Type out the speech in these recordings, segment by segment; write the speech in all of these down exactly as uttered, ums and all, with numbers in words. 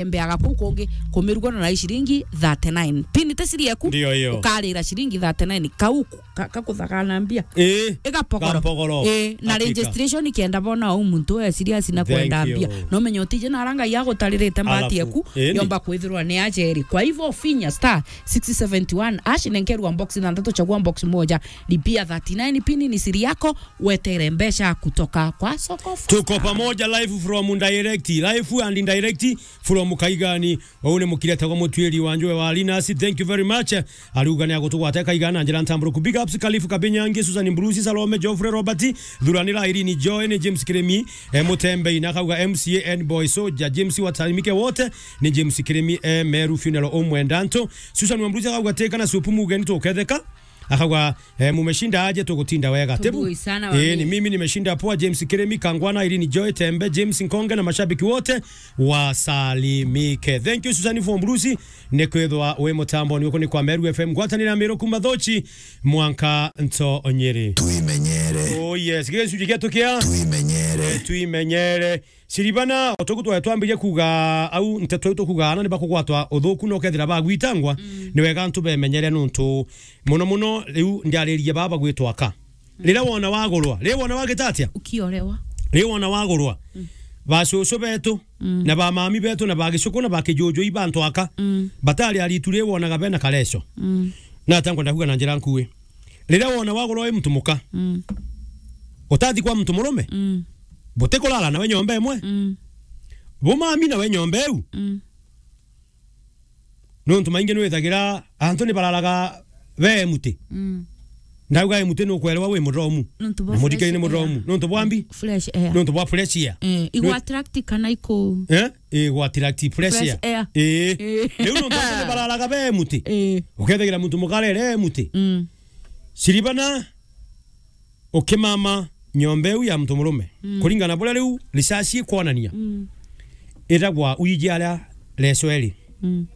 Embeaga kuu kungi kumiruga na ciringi thirty-nine. Pin te siri eku, ndio hiyo. Ukarira ciringi thirty-nine. Kau ku-, ka-, kakuthagana mbia. Eh, igapogoro. Gampogoro. Eh, na hakika. Registration kenda bona au muntu e serious na kwenda mbia. Thank you. No menye utije na aranga ya gutaririte mbati. Alafu, eku, eh, ni yomba kwithirwa ni ajeri. Kwa hivyo finya star six seventy one hash, nenkerwa box na ndatu, chagua box moja. Lipia thirty-nine pin ni siri yako, wetere mbeca kutoka kwa Soko Fasta. Tuko pamoja live from direct, live and direct from Kaigani. Uu ni mukiri etagwa Mutuiri wa Njwe wa Linus. Thank you very much. Ariuga ni agutugwata Kaigana na njira ntamburuku. Big ups Kalifu Kabinyangi, Susan Bruce, Salome, Geoffrey Robert, Thuranira Irene Joy, ni James Kiremi, eh, Mutembei, na akauga M C A and boy soldier, James Watarimike wote, ni James Kiremi, eh, Meru funeral umwenda ntu. Susan wa Bruce akauga teka na supu mugeni tuketheka. Akauga, eh, mumeshinda aje, tugutinda wega. Tebu. Tubui sana wa. Eh, ni mimi. Mimi nimeshinda poa, James Kiremi, Kangwana, Irene Joy, Tembe, James Nkonge na mashabiki wote wasalimike. Thank you, Susan from Bruce. Ni kwithwa wi mutambo ni uku ni kwa Meru F M. Ngwatanira Miru kuma Thochi, mwanka nto Nyeri. Twimenyere. Oh yes, gicunji gietu kia. Twimenyere. Twimenyere. Siribana, o tuku twae twambirie kuuga au, nteto iu tukuuga ana ni bakugwatwa uthuku na ukethira bagwitangwa, mm, ni wega antu bemenyere nuntu muno muno riu ndiaririe baba bagwitwa aka. Mm. Riria wona wagurwa, riria wona wagita atia? Ukiorewa. Riria wona wagurwa, mm, ba cucu betu, mm, na ba mami betu, na ba gicuku, na ba kijuju, ibantu aka, mm, batari aritu riria wonaga bena kareco. Mm. Na ata nkwenda kuuga na njira nkui. Riria wona wagurwa wi muntu muka, mm, utathi kwa muntu murume, mm, butikurara nawe nyomba imwe. Mm. Bumami nawe nyomba iu. Mm. Nontu maingi nwithagira antu ni bararaga be muti. Mm. Ndauga e muti nukwerewa wi muromu. Nontu bwa. Na muthikiri ni fresh air. Muromu. Nontu bwa mbi? Fresh air. Nontu bwa fresh air. Eh, igu attract kana iku. Eh? Igu attract fresh air. Fresh air. Eh. Eh. Riu nontu antu ni bararaga be muti. Eh. Ukethagira muntu mukarere e muti. Mm. Siribana ukimama nyomba iu ya muntu murume. Mm. Kuringana na buria riu research ikwonania. Mm. Itagwa wiji aria reco eri. Mm.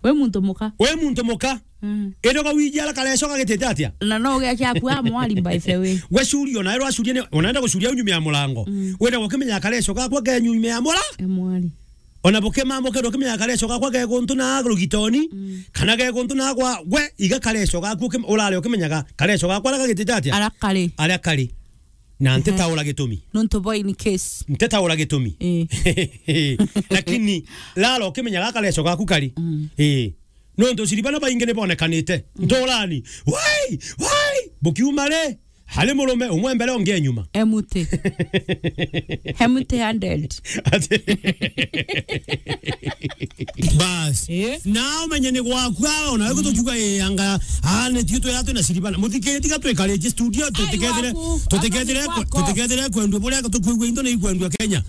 We muntu muka. We muntu muka. Mm. Itagwa wiji aria kareco gagitite atia? Na no ugekia akua mwari by the way. We curia, ona ero acuria ni, onaenda gucuria au nyuma ya murango. Mm. Wenda gukimenya kareco gakwa ke nyuma ya mura? E mwari. Ona bukimama, ukethirwa ukimenya kareco gakwa ge guntu na rugitoni, mm, kana ge guntu na gwa, gwe iga kareco gaku ukim-, urare ukimenyaga kareco gakwa aria gagitite atia? Aria kari. Aria kari. Na ntitaura gitumi. Nontu bo in case. Ntitaura gitumi. Eh. Lakini, rara ukimenyaga kareco gaku kari. Mm. Eh. Nontu siribana baingi ni bonekanite. Mm. Nturani. Wai! Wai! Bukiuma ri? Hari murume umwe mbere ungi enyuma. Empty. Empty handed. Ati bas. Eh? Na umenye ni gwaku, ona we gutukiuga, eh, anga, ah, ni tio twira twina siribana. Muthikiri tiga twikare studio, tutikethire, gwaku, tutikethire, anga ni gwaku, tutikethire kwendua buria tukwigua into ni ikwendua Kenya.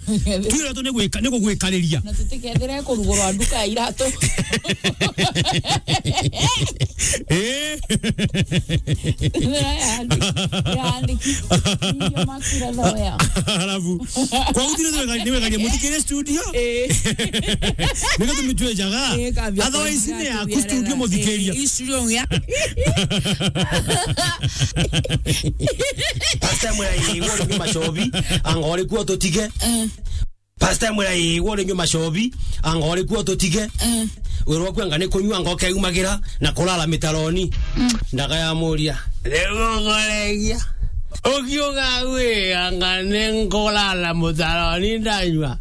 Twira tu ni gwika, ni kugwikariria. Na tutikethire kurugurwa nduka ya iratu. Eh? Yandi-, yandiki. Ndio makira thoya. Alafu, kwa utire tu wega, ni wega muthikire studio. Eh. Niko tumitwe jaga. Eh, kabia. Otherwise, ni ya ku studio muthikiria. Eh, hii studio ya. Pastor Mwirai, igwe uri nyuma cobi, anga uri kuo tutige. Eh. Pastor Mwirai, igwe uri nyuma cobi, anga uri kuo tutige. Eh. Wirwa kwenga ni kunyua, anga ukeumagira na kurara mitaroni. Mm. Ndaga ya muria. Riu ngukoregia. Ukiuga wi, anga ni nkurara mutaroni ndanyua.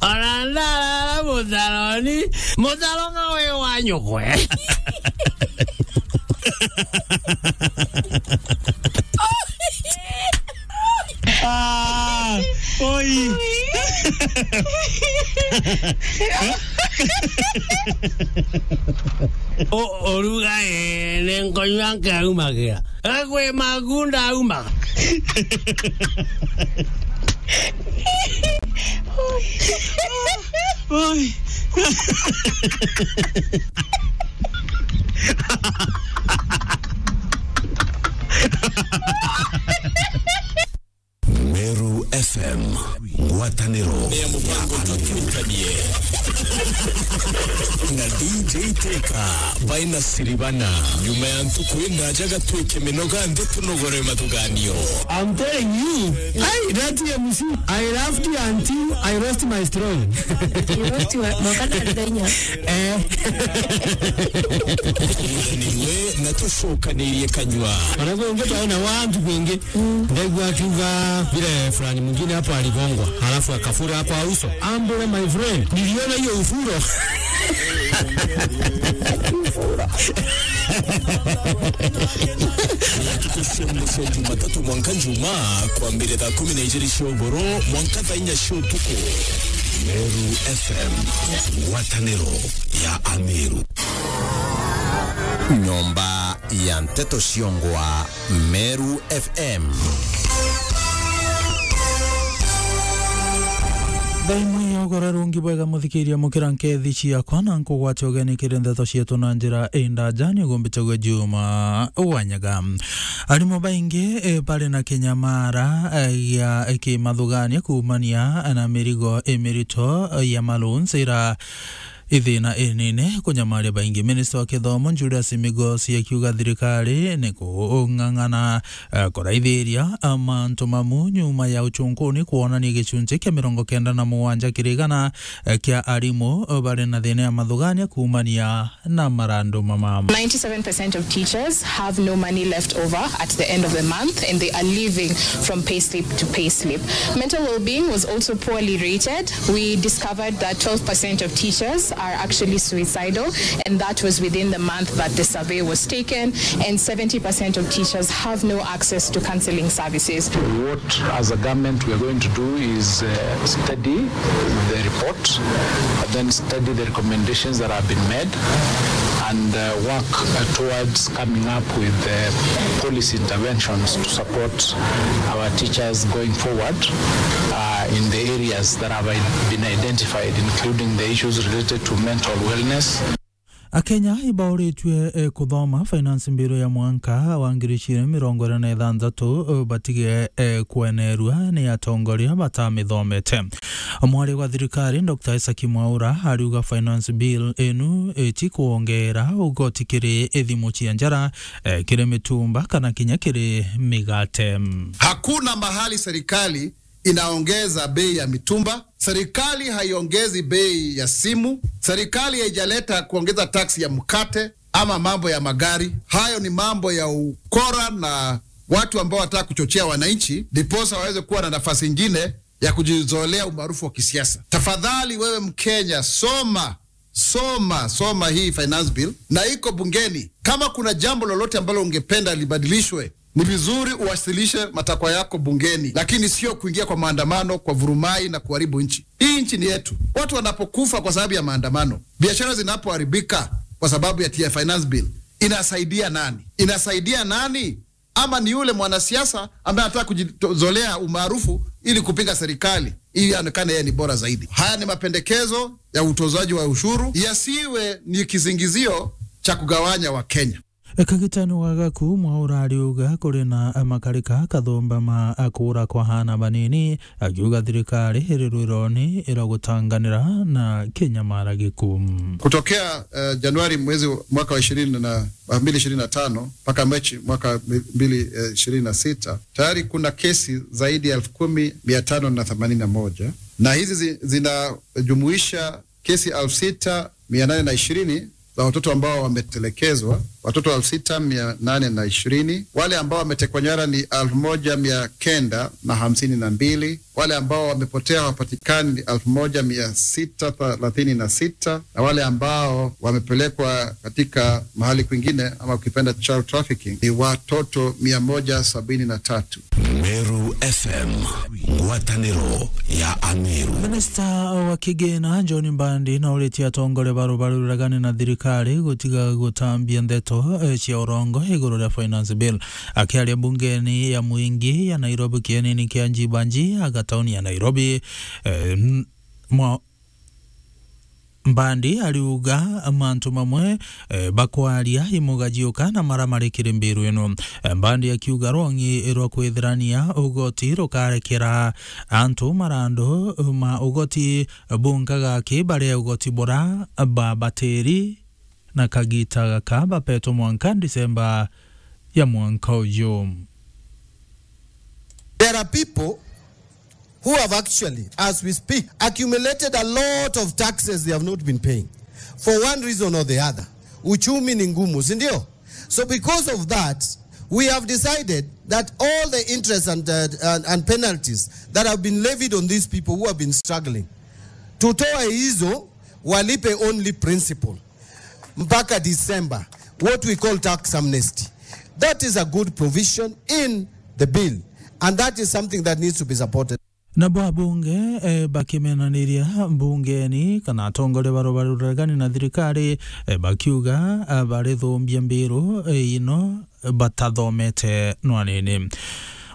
Ona ndarara mutaroni, mutaroga wi wa nyukwe. Ah, oi. O-, oruga, eh, ni nkonywa nkeumagira. Gakwi magunda aumaga. Oi. Meru F M, ngwataniro ya mubango tutukanie. Na D J Teka baina siribana. Nyuma ya ntuku indaja gatwike minoga nthi tunogore mathuganio. I'm telling you, I, that M C, I laughed until I lost my strong. You lost your, mwaka na ndainya. Eh. Tuguranirwe na tucokanirie kanyua. Wanakuongea twaona watu wengi. Ndaigua akiuga vile fulani mwingine hapo aligongwa, halafu akafura kwa uso. Ambule, my friend, niliona hiyo ufuro. Ntuku cia mwisho Jumatatu mwanka Juma, kwambire thaa kumi na ijiri cia ugoro mwanka thaa inya cia utuku. Meru F M, ngwataniro ya Ameru. Nyomba ya nteto ciongwa. Meru F M. Thaa imwe ya ugoro rungi bwega, muthikiria mukira nkethi ciakwa, na nkugwate ugeni kiri ndeto cietu na njira indaja, ni gumbitagwe Juma Wanyaga. Arimu baingi, eh, bari na kinyamara, eh, gia kimathugania kuumania na mirigo imirito, eh, ya malu nzira ithina inene kunyamaria baingi. Minista wa kithomo Julius Migosi akiuga thirikari ni kung'ang'ana, eh, kuraithiria, eh, mantu mamu nyuma ya uchunkuni kwonania gicunji kia mirongo kenda na mugwanja kiri igana, eh, kia arimu, eh, bari na thina ya mathugania kuumania na marandu mama. Ninety-seven percent of teachers have no money left over at the end of the month, and they are living from payslip to payslip. Mental well-being was also poorly rated. We discovered that twelve percent of teachers are actually suicidal, and that was within the month that the survey was taken, and seventy percent of teachers have no access to counseling services. What, as a government, we are going to do is, uh, study the report, but then study the recommendations that have been made, and, uh, work, uh, towards coming up with, uh, policy interventions to support our teachers going forward, uh, in the areas that have i-, been identified, including the issues related to mental wellness. Akenya ibauritue, eh, kuthoma finance bill ya mwanka wa ngiri igiri mirongo iri na ithanthatu, eh, batige, eh, kwenerua ni atongoria batamithomete. Mwari wa thirikari, Doctor Isaac Mwaura, ariuga finance bill inu iti kwongera ugoti kiri ithimu cia njara, eh, kiri mitumba kana kinya kiri migate. Hakuna mahali serikali inaongeza bei ya mitumba. Serikali haiongezi bei ya simu. Serikali haijaleta kuongeza tax ya mkate ama mambo ya magari. Hayo ni mambo ya ukora na watu ambao wanataka kuchochea wananchi, ndiposa waweze kuwa na nafasi ingine ya kujizolea umaarufu wa kisiasa. Tafadhali wewe Mkenya, soma, soma, soma hii finance bill, na iko bungeni. Kama kuna jambo lolote ambalo ungependa libadilishwe, ni vizuri uwasilishe matakwa yako bungeni, lakini sio kuingia kwa maandamano, kwa vurumai na kuharibu nchi. Hii nchi ni yetu. Watu wanapokufa kwa sababu ya maandamano, biashara zinapoharibika kwa sababu ya T I finance bill, inasaidia nani? Inasaidia nani? Ama ni yule mwanasiasa ambaye anataka kujizolea umaarufu ili kupinga serikali, ili aonekane yeye ni bora zaidi? Haya ni mapendekezo ya utozaji wa ushuru, yasiwe ni kisingizio cha kugawanya Wakenya. Kagitani wa Gaku, Mwaura ariuga kuri na makarika kathumba ma kuura kwa aana banini, akiuga thirikari iri rwironi ira gutanganira na kinyamara giku. Kutokea, eh, Januari mwezi wa, mwaka wa ishirini na, wa mbili ishirini na tano mpaka Machi mwaka mbili, eh, ishirini na sita, tayari kuna kesi zaidi ya elfu kumi mia tano na themanini na moja, na hizi zi-, zinajumuisha kesi elfu sita mia nane na ishirini za watoto ambao wametelekezwa, watoto elfu sita mia nane na ishirini. Wale ambao wametekwa nyara ni elfu moja mia kenda na hamsini na mbili. Wale ambao wamepotea hawapatikani ni elfu moja mia sita thelathini na sita, na wale ambao wamepelekwa katika mahali kwingine, ama ukipenda child trafficking, ni watoto mia moja sabini na tatu. Meru F M, ngwataniro ya Ameru. Minista wa kigina John Mbadi nauritie atongoria ba rubaru ruregani na thirikari gutiga gutambia ndeto, eh, cia urongo iguru ria finance bill. Akiaria bungeni ya mwingi ya Nairobi, kienini kia Njibanji aga tauni ya Nairobi, eh, n-, mwa-, Mbandi ariuga mantu mamwe, eh, bakwaria imugajiuka na mara mari kiri mbiru ino. Eh, Mbandi akiuga rwongi rwa kwithirania ugoti rukarekera antu marandu ma ugoti bunkaga ki baria ugoti bura babatiri na kagita gaka bapetwe mwanka Disemba ya mwanka uju. There are people who have actually, as we speak, accumulated a lot of taxes they have not been paying for one reason or the other. Uchumi ni ngumu, si ndio? So because of that, we have decided that all the interest and, uh, and, and penalties that have been levied on these people who have been struggling, tutoe hizo, walipe only principal mpaka December, what we call tax amnesty. That is a good provision in the bill, and that is something that needs to be supported. Nabo abunge, eh, bakimenaniria mbungeni kana atongoria baria bari uregani na thirikari, eh, bakiuga, eh, barithumbia mbiru, eh, ino batathomete nwanini.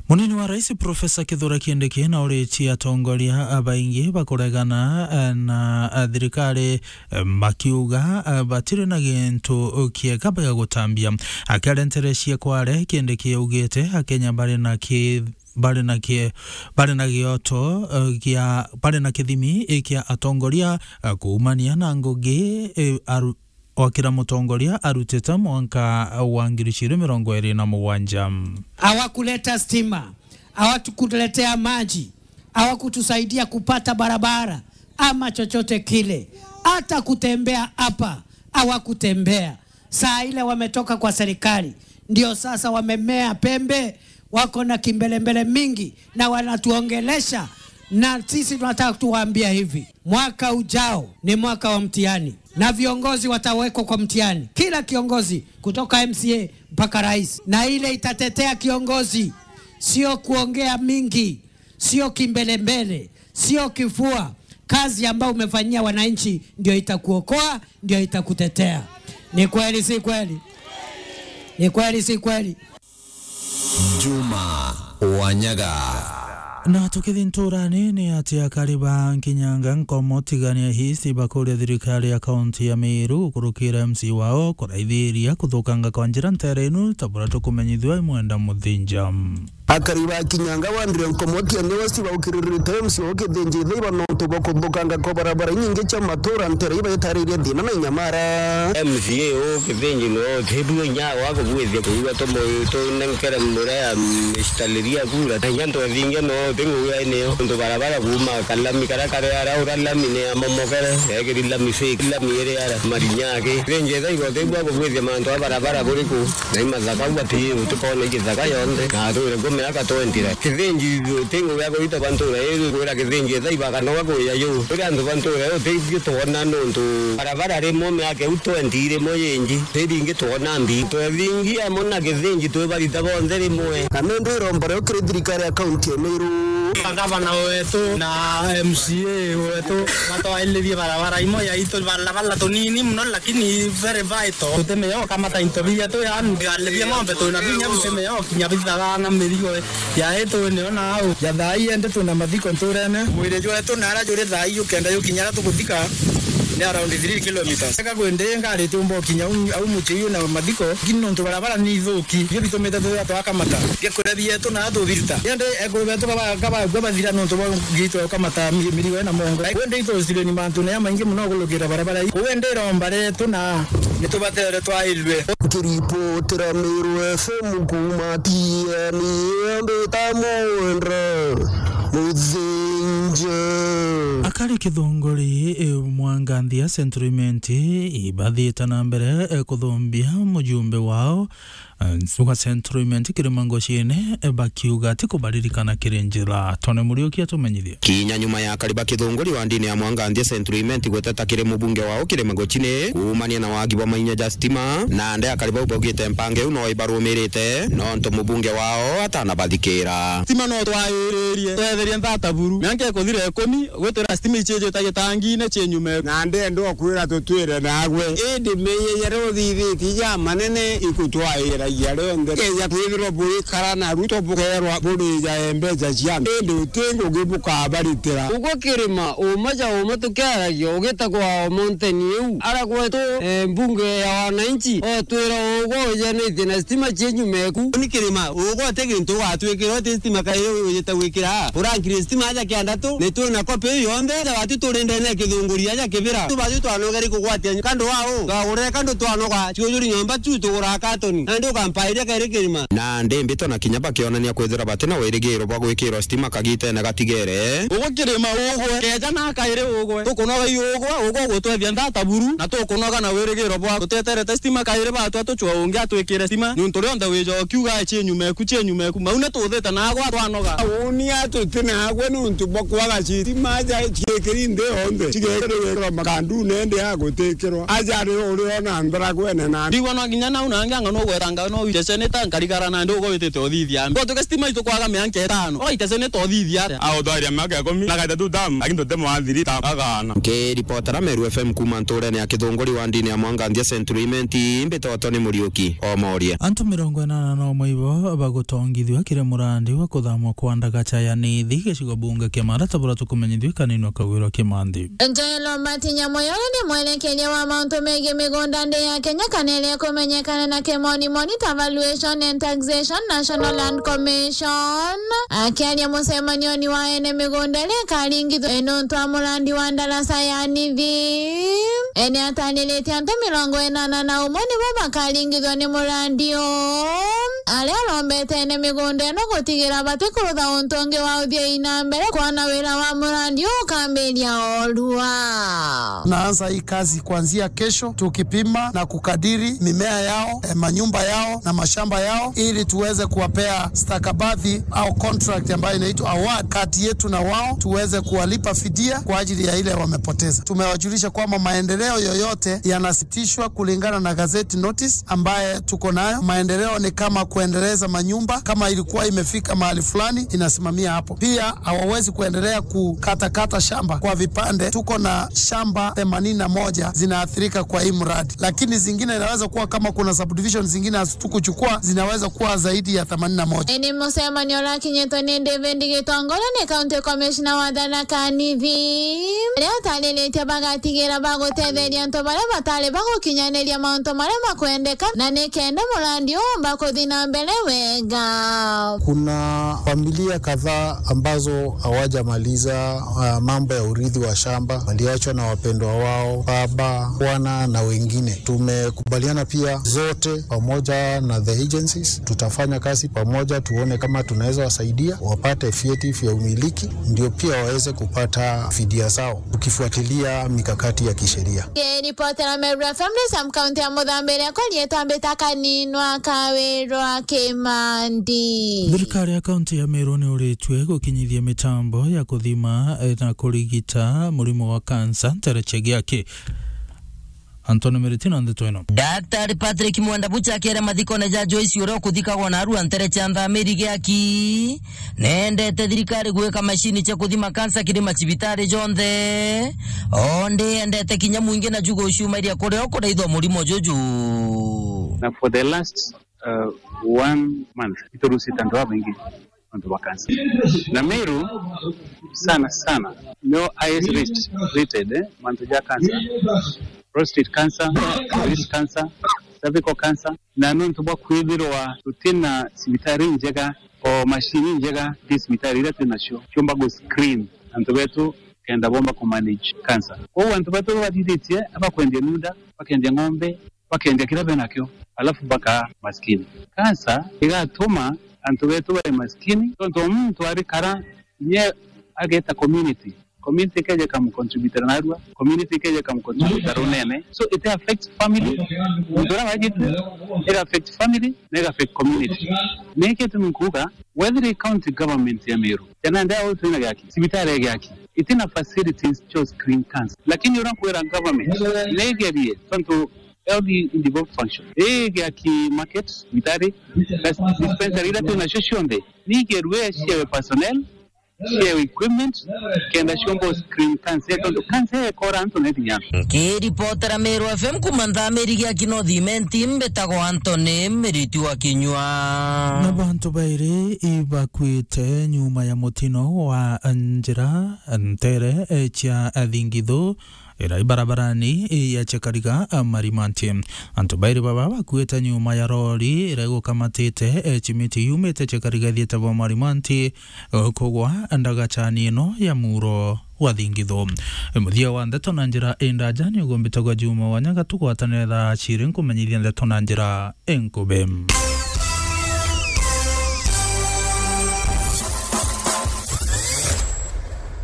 Munini wa rais Profesa Kithure Kindiki na uritie atongoria abaingi bakuregana, eh, na, eh, thirikari, eh, bakiuga, eh, batiri na gintu kiega bia gutambia. Akiaria nteere cia Kware, Kindiki augite Akenya bari na ki-, bari na ki-, bari na gioto, eh, gia, bari na kithimi, eh, kia atongoria, eh, kuumania na ngugi, eh, aru-, o kira mutongoria arutite mwanka wa ngiri ciiri mirongo iri na mugwanja. Hawakuleta stima, hawakutuletea maji, hawakutusaidia kupata barabara ama chochote kile. Hata kutembea hapa hawakutembea. Saa ile wametoka kwa serikali, ndio sasa wamemea pembe, wako na kimbelembele mingi na wanatuongelesha. Na sisi tunataka tuwaambia hivi, mwaka ujao ni mwaka wa mtihani, na viongozi watawekwa kwa mtihani, kila kiongozi kutoka M C A mpaka rais, na ile itatetea kiongozi, sio kuongea mingi, sio kimbelembele, sio kifua. Kazi ambayo umefanyia wananchi ndio itakuokoa, ndio itakutetea. Ni kweli, si kweli? Ni kweli, si kweli? Juma Wanyaga. Na tukithi nturani, ni ati akari ba Kinyanga, Nkomo, Tigania East bakuria thirikari ya kaunti ya Meru gukurukira M C wao kuraithiria kuthukanga kwa njira nteere inu, ta buria tukumenyithua i Mwenda Muthinja. Akari ba Kinyanga wandire Nkomo Tigania East baukiririte M C o Kithinji Ithaiba nontu bwa kuthukanga kwa barabara inyingi cia matura nteere ibaitariria thina na inyamara. M C A o Kithinji no tibua inya wa kubwithia kuigua tumu-, tunenkere murea mistaliria kura. Na inya ntwethingia no tingugia niyo. Ntu barabara kuuma kalami karia kari ara ura lami ni amomokere, ekiri lami fake, lami iri ara marinyaki. Kithinji Ithaiba tibua kubwithia mantu a barabara buriku. Na imathaka u ati utikona igithaka yonthe. Na atwire ku miaka twenty ra. Kithinji tingugia kuita ba ntura iri kwira Kithinji Ithaiba kanoga kuya yu. Kuri antu ba ntura yu tibio twona nontu barabara rimwe miaka iu twenty rimwe yingi. Tiringi twona mbi. Twethingia amo na Kithinji twibarita bonthe rimwe. Na nindi iromba rio kiri thirikari ya kaunti ya Meru. Gavana wetu na M C A wetu batwailirie barabara imwe ya itu, barabara tunini muno lakini very vital. Tutimenya ukamata into biria tu, yani, alibia ng'ombe twina binya bitimenya kinya bithaga na mirigo ya itu niyo na au. Ya thaa ii ende twina mathiko nturene. Mwiri jwetu na ara juri thaa ii ukenda jukinya ara tuguthika ni around three kilometres. Eka kwende ngari tiumba ukinya au, au mucii na mathiko, lakini nontu barabara ni ithuki, nio bitumite twithira twakamata. Bia kuria bietu na tubiruta. Ende ekuru betu kaba, kaba, kaba bathira nontu bwa gitwa ukamata mi-, mirigo ina mongo. Kwende ithucireni mantu na ya maingi muno kulukira barabara ii. Kwende iromba rietu na nitubatere twairwe. Nkiripotera Meru F M kuuma Tiani, mbita Mwendra Muthinja. Akari Kithunguri, eh, Mwanganthia Central Imenti ibathiite na mbere, eh, kuthumbia mujumbe wao, eh, wa Central Imenti Kirima Ngochine, eh, bakiuga ati kubaririkana kiri njira. Tone Muriuki atumenyithie. Kinya nyuma ya akari ba Kithunguri wa ndini ya Mwanganthia Central Imenti guteta kiri mubunge wao Kirima Ngochine kuumania na wagi bwa mainya ja stima, na nde akari bau baugite mpango iu no ibarumirite nontu mubunge wao atanabathikira. Stima no twairirie, twetherie nthata buru. Mianka ikuthira ikumi, gwitwira stima Michejo ta gitangine cienyume. Na ndenda okwira tutwire nagwe. Indi meyeyere uthithitie ja manene ikutwairagia rionthe. Keja kwithirwa bwikara na Ruto bukerwa burija mbeca cia antu. Indi uti ngugi bukabaritira. Ugwe kirima, uma ja uma tukiaragia, ugitagwa o mountain iu. Ara gwetu, eh, mbunge ya wananchi, otwira ugwe ujanitie na stima cienyumeku. Ni kirima, ugwe uti gintu ugatwikira, uti stima kairi ujite gwikira. Urankire stima aja kiandatu, ni twina kopi iu yonthe, ja watu turi ndene ya kithunguri aja kibira. Tu batu twanogeri kugwatia kandu wao, twagurire kandu twanoga, ciujuri nyomba tu tugura katoni. Nandi ukampairia kairi kirima. Na ndi mbito na kinya bakionania kwithira bati na wirigiro bwa gwikirwa stima kagitene gatigere. Ugwe kirima ugwe, keja na kairi ugwe. Tukunoga i ugwe, ugwe ugutwethia ndata buru, na tukunoga na wirigiro bwa tuteterete stima kairi batwa tucwa ungi atwikire stima. Niuntu rionthe wija ukiuga, "Cienyumeku, cienyumeku." Mau ni tuthite nagwa twanoga. Uuni atuti nagwe niuntu bwa kwaga citima ja ciikiri nthi yonthe. Cigekirwa makandune ndi ya gutikirwa. Aja ri uri ona nthara gwene na. Ndigwa no nginya nau nangi anga no gwetanga no wite seneta nkarigara na ndi ugwe witite uthithia. Ngwatuke stima itu kwaga mianka itano. Oite seneta uthithia atia? Autwaria miaka ikumi na gaitatu tam, lakini tuti mwathiri tam, agana. Nkiripotera Meru F M kuma nturene ya Kithunguri wa ndini ya Mwanganthia Central Imenti, mbitoto ni Muriuki Omoria. Antu mirongo inana na umwe ibo bagutongithua kiri murandi wa kuthamwa kwa ndagacha ya Nithi gicigo bunge kia Mara ta buria tukumenyithua kaninwa Kagwira Kimanthi. Njoelo Mbati Nyamoyo ni mwerekeria wa mauntu megii migunda nthi ya Kenya kana iria ikumenyekana na kimonimoni ta Valuation and Taxation National Land Commission. Akiaria mucemanioni wa ene migunda iria ikaringithwa nontu wa murandi wa ndaraca ya Nithi, ene atariritie antu mirongo inana na umwe nibo bakaringithwa ni murandi uu, aria arombete ene migunda ino gutigira batikurutha untu ungi wa uthii na mbere kwona wira wa murandi uu ukambiria orua. Naanza hii kazi kuanzia kesho, tukipima na kukadiri mimea yao, eh, manyumba yao na mashamba yao, ili tuweze kuwapea stakabadhi au contract ambayo inaitwa award kati yetu na wao, tuweze kuwalipa fidia kwa ajili ya ile wamepoteza. Tumewajulisha kwamba maendeleo yoyote yanasitishwa kulingana na gazette notice ambaye tuko nayo. Maendeleo ni kama kuendeleza manyumba, kama ilikuwa imefika mahali fulani, inasimamia hapo. Pia hawawezi kuendelea kukatakata shamba kwa vipande. Tuko na shamba themanini na moja zinaathirika kwa hii mradi, lakini zingine inaweza kuwa, kama kuna subdivision zingine hatukuchukua, zinaweza kuwa zaidi ya themanini na moja. Ni mucemanio urakinyitwe ni David Gitongole, ni County Commissioner wa Tharaka Nithi, uria utariritie bagatigira bagutetheria antu baria batari bagukinyaniria mauntu maria makwendeka, na nikenda murandi uumba kuthi na mbere wega. Kuna familia kadhaa ambazo hawajamaliza, ah, mambo ya urithi wa shamba, waliachwa na wapendwa wao, baba, wana na wengine. Tumekubaliana pia zote pamoja na the agencies, tutafanya kazi pamoja, tuone kama tunaweza wasaidia wapate vyeti vya umiliki, ndio pia waweze kupata fidia zao, tukifuatilia mikakati ya kisheria. Ripotera Meru F M ni Sam, kaunti ya Muthambiria, kwa rietwa mbita Kaninwa Kawirwa Kimandi. Thirikari ya kaunti ya Meru ni uritue gukinyithia mitambo ya kuthima, eh, na kurigita murimo wa kansa ntereche giaki. Anthony Miritino na ndeto ino. Daktari Patrick Mwenda Bucha akiaria mathikone ja Joyce uria ukuthikagwa na arua ntereche ya Nthamiri giaki. Nendete thirikari gwika macini cia kuthima kansa kiri macibitari jonthe. O ndi endete kinya mwingi na jugo ciumairia kuria ukuraithwa murimo juju. Na for the last, uh, one month, iturusite antu babaingi nontu bwa kansa. Na Meru sana sana, no highest risk rated, eh, mantu ja kansa. Prostate cancer, breast cancer, cervical cancer. Na nontu bwa kwithirwa tutina cibitari njega, o macini njega, ti cibitari iria twinacio ciumba gu screen antu betu kenda bomba ku manage cancer. Kwou antu betu bathithitie abakwendia miunda, bakendia ng'ombe, bakendia kiria benakio, alafu bakaa maskini. Cancer igatuma antu betu bae maskini, tontu o muntu arikara nye ageta community. Community ikeja ikamucontributera narua, community ikeja ikamucontributera runene. So it affects family. Muntu uria wajite, it affects family, na it affects community. Niki gitumi nkuuga, wethira i county government ya Meru, kana ndia au twina giaki, cibitari ya giaki, itina facilities cia screen cancer. Lakini uria nkwira government, nigerie, tontu health in developed function. Ii giaki market, cibitari, dispensary iria twinacio cionthe, nigerue ciawe personnel, cia equipment, kenda ciomba screen cancer, tontu cancer ekora antu na inya. Nkiripotera Meru F M kuma Nthamiri gia Kinothi Imenti, mbitagwa Anthony Miriti wa Kinyua. Na bantu bairi ibakuite nyuma ya mutino wa njira ntere, eh, cia Thingithu, ira ibarabarani ya Chekariga, a, Marimanti. Antu bairi baba bakuite nyuma ya rori ira igukamatite, e, cimiti yumite Chekariga ithiite bo Marimanti, e, kugwa ndagachani ino ya muro wa Thingithu. E, muthia wa ndeto na njira indaja ni ugumbite gwa Juma wa Nyaga, tugwatanire thaa ciri nkumenyithia ndeto na njira inkubi.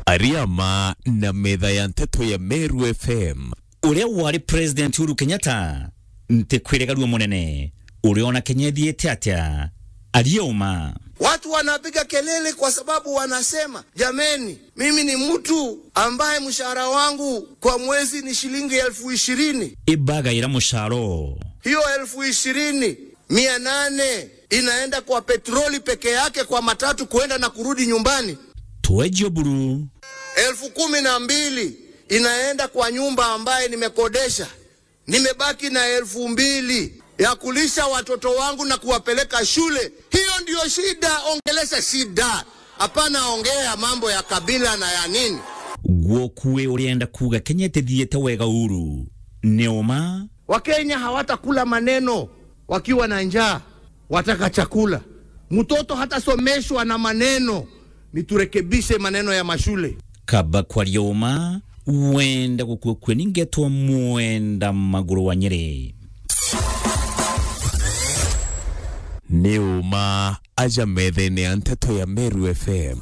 Ariama na metha ya nteto ya Meru F M. Uria wari President Uhuru Kenyatta, ntikwirigarua munene, uriona Kenya ithiite atia? Aria uma. Watu wanapiga kelele kwa sababu wanasema, "Jameni, mimi ni mtu ambaye mshahara wangu kwa mwezi ni shilingi elfu ishirini." Ibagaira musharo. Hiyo elfu ishirini, mia nane inaenda kwa petroli peke yake kwa matatu kuenda na kurudi nyumbani. Tuejo buru. Elfu kumi na mbili inaenda kwa nyumba ambaye nimekodesha. Nimebaki na elfu mbili ya kulisha watoto wangu na kuwapeleka shule. Hiyo ndio shida, ongelesha shida. Hapana ongea mambo ya kabila na ya nini. Gwoku we urienda kuuga Kenya itithiite wega uru? Ni uma. Wakenya hawatakula maneno wakiwa na njaa, wataka chakula. Mtoto hatasomeshwa na maneno, ni turekebishe maneno ya mashule. Kaba kwaria uma, wenda gukua kue ni ngetwa mwenda maguru wa Nyeri. Ni uma aja methene ya nteto ya Meru F M.